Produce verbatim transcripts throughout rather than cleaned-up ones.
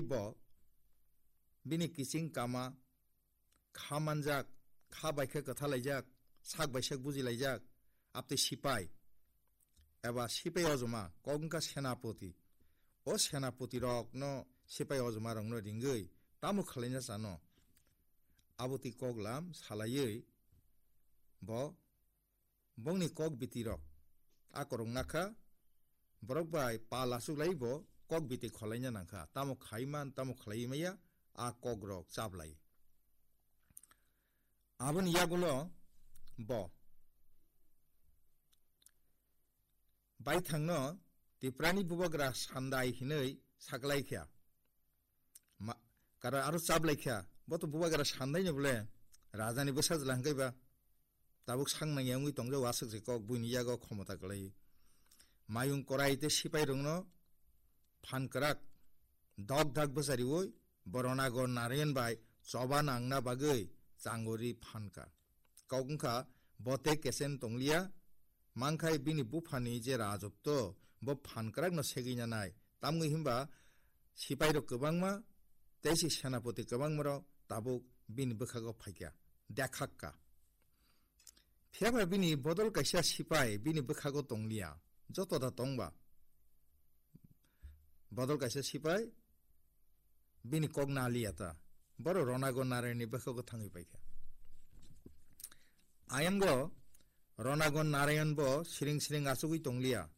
Bo bini kiching kama, kha manjak, kha bai khe kwthalaijak, sak bai sak bujilaijak, abtwi sipai eba sipai ojoma, kok wngkha senapoti. O senapoti rokno sipai ojoma rokno ringwi tamo khwlaina chano? Abotwi kok lam salaiwi bo bongni kok biti rok a korok nakha, borok bai pal achuklai bo kok biti kholaina nangkha, tamo khaiman tamo khlai maya a kok rok chaplai. Aboni yagulo bo baithangno Tiprani bubagra sandai hinwi saklaikha. Ma-, kara aro chaplaikha, bo to bubagra sandaino bole rajani bwsajla hwnkhe ba tabuk sangnang ya wngwi tongjao aswk se kok buini yago khomota kwlai. Mayung korai tei sipai rokno phan kwrak dok dak bwchariwi bo Ronago Narayan bai choba nangna bagwi changori phankha. Kok wngkha bo tei kesen tongliya, mankhai bini buphani je rajotto bo phan kwrakno segwi nanai, tamni hwnba sipai rok kwbangma tei se senapoti kwbangma rok tabuk bini bwkhago phaikha, dekhakka. Phiya ba bini bodol kaisa sipai bini bwkhago tongliya, joto da tongba. Bodol kaisa sipai bini kok naliya ta. Boro Ronagon Narayanni bwkhago thangwi paikha. Ayango Ronagon Narayan bo siring siring achugwi tongliya.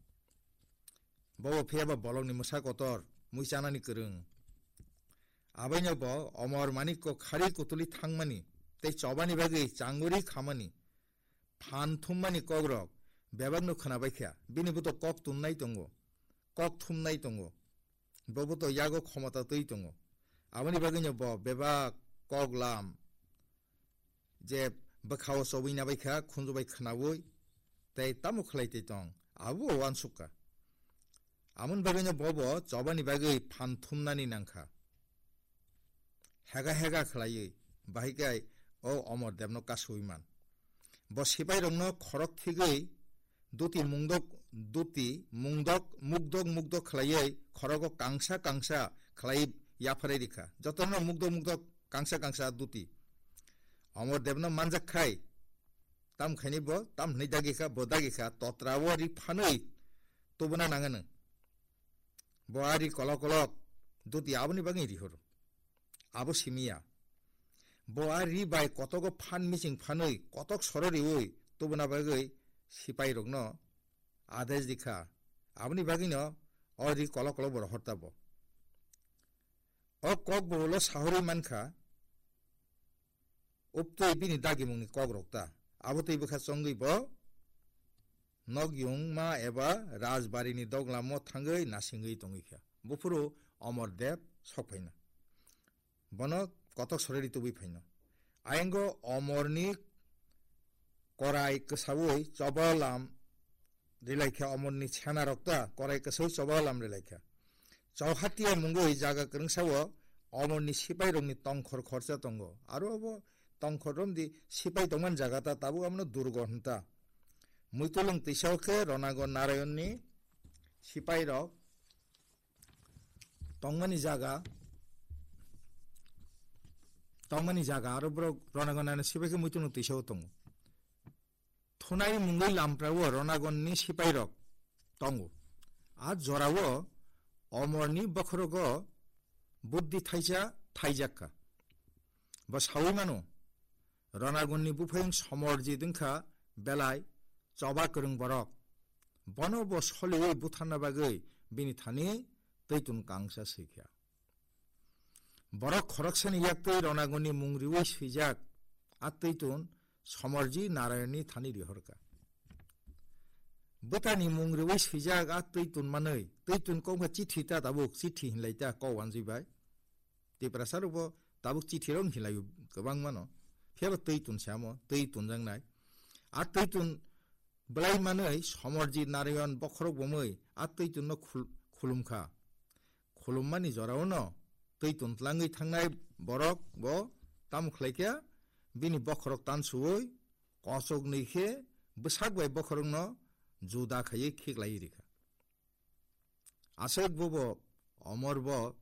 Bobo phiya ba bolongni mwsa kotor, mui chanani kwrwng. Abaino bo Omor Manikko khari kutuli thangmani tei chobani bagwi changuri khamani phan thummani kokrok bebakno khwnabaikha. Bini buto kok tunnai tongo, kok thumnai tongo. Bobo to yago khomota twi tongo. Aboni bagwino bo bebak kok lam je bwkhao chobwi nabaikha, khunju bai khwnaui, tei tamo khlai twi tong, abo uansukha. Amoni bagwino bobo chobani bagwi phan thumnani nangkha. Hega hega khlaiwi, bahai kai o Omor Debno kasui man. Bo sipai rokno khorok thigwi duti mungdok, duti mungdok, mukdok mukdok khlaiwi khorogo kangsa kangsa khlai yapharai rikha. Jotono mukdok mukdok kangsa kangsa duti. Omor Debno manjak khai, tam khaini bo, tam hwnwi dagi kha, bo dagi kha, totra o ri phanwi tubuna nangano. Bo a ri kolok kolok duti aboni bagwi rihoro. Abo simiya. Bo a ri bai kotogo phan miching phanwi kotok soro riui tubuna bagwi sipai rokno ades dikha. Aboni bagwino o ri kolok kolok bo rohor ta bo. O kok bo ulo sahorwi mankha, uptwi bini dagimungni kok rok ta. Abo twi bwkha chongwi bo nok yungma eba rajbarini doglamo thangwi nasingwi tongwi kha. Buphuru Omor Deb sok phaina. Bono kotok soreri tubui phaino. Ayango Omorni korai kwsaui choba lam rilaikha, Omorni sena rokta korai kwsaui choba lam rilaikha. Chauhatia mungwi jaga kwrwngsao Omorni sipai rokni tongkhor khorsa tongo. Aro abo tongkhor romdi sipai tongmani jaga ta tabuk abono durgo hwnta. Muitulung twisao khe Ronago Narayonni sipai rok tongmani jaga, tongmani jaga, aro borok Ronago Narayonni sipai khe muitu no twisao tongo. Thunai mungwi lamprao Ronagonni sipai rok tongo. A jorao Omorni bokhorogo buddhi thaisa thaijakka. Bo saui mano, Ronagonni buphayung Somorjit wngkha belai choba kwrwng borok. Bono bo soliui butharna bagwi bini thani twitun kangsa swikha. Borok khoroksani yaktwi Ronagonni mung riui swijak, a twitun Somorji Narayonni thani rihorka. Bwtani mung riui swijak a twitun manwi, twitun kokma chithi ta tabuk, chithi hinlai ta kok wanjwi bai. Tiprasa rokbo tabuk chithi rok hinlai kwbangmano. Phiya ba twitun se amo, twi tunjaknai. A twitun belai manwi Somorji Narayan bokhorok bomwi a twitun no khul-, khulumkha. Khulummani jorao no twitun tlangwi thangnai borok bo tamo khlaikha, bini bokhorok tansuui kochoknwi khe bwsak bai bokhorokno juda khaiwi khiklaiwi rikha. Aswk bobo Omor bo